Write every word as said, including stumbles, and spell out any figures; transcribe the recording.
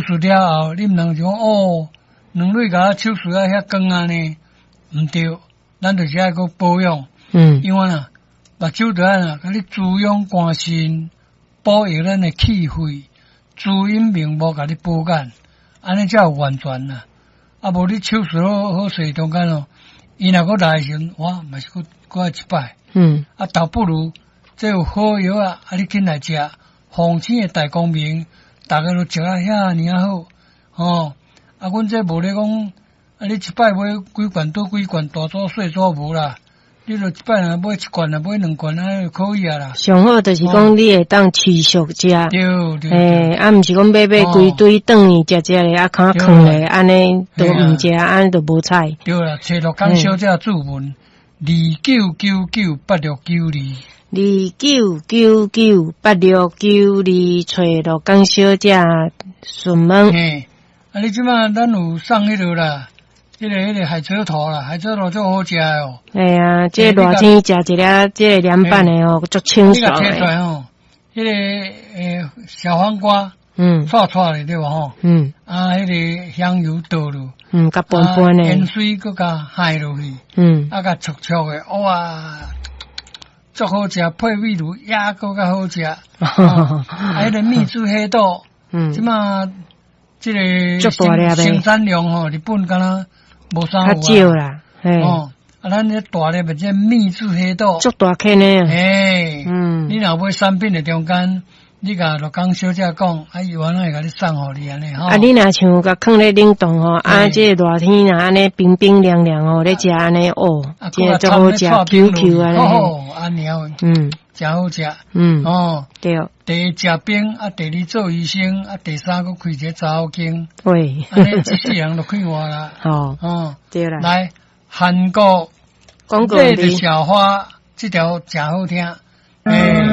術了後，你毋通就講哦，兩蕊共我手術啊遐光按呢，毋對，咱就是愛閣保養。嗯。因為啊，目睭著按怎，共你滋養肝腎，保育咱的氣血，滋陰明目，共你保眼，按呢才有完全啦。啊，無你手術好好勢中間哦，伊若閣來的時陣，哇，嘛是閣閣愛一擺。嗯。啊，倒不如這有好藥啊，啊，你緊來食，鳳星的大光明，逐家都食啊遐爾仔好，吼。啊，阮這無咧講，啊，你一擺買幾罐倒幾罐，大組細組無啦。你就一擺若買一罐，若買兩罐，按呢就可以啊啦。上好就是講你會當持續食。對對。欸，啊，毋是講買買規堆轉去食食咧，啊，囥囥咧，按呢都毋食，按呢就無彩。對啦，揣鹿港小姐注文，二九九九八六九二。二九九九八六九二，揣鹿港小姐詢問。嘿，啊，你這馬咱有送彼落啦。彼个彼个海蜇頭啦，海蜇頭足好食哦。嘿啊，這個熱天食一粒這個涼拌的哦，足清爽的。你共提出來吼，彼个欸小黃瓜，嗯，脆脆的對無吼？嗯。啊，彼个香油倒落，嗯，共拌拌的。鹽水閣共害落去，嗯，啊，共灼灼的，哇，足好食，配米滷也閣較好食。啊，彼个秘製黑豆，嗯，這馬這個生產量吼，日本敢若無啥有啊，較少啦，哦，啊，咱這大粒的這秘製黑豆，足大顆呢，欸，嗯，你若買產品的中間，你共鹿港小姐講，啊，伊原來會共你送予你按呢吼。啊，你若像共囥咧冷凍吼，啊，這個熱天若按呢冰冰涼涼吼，咧食按呢哦，這個足好食，Q Q 按呢，哦，按呢嗯，誠好食，嗯，哦，對，第一食冰，啊，第二做醫生，啊，第三閣開一個查某間，喂，按呢這世人就快活啦，哦，哦，對啦，來，韓國廣告的小花，這條誠好聽，欸。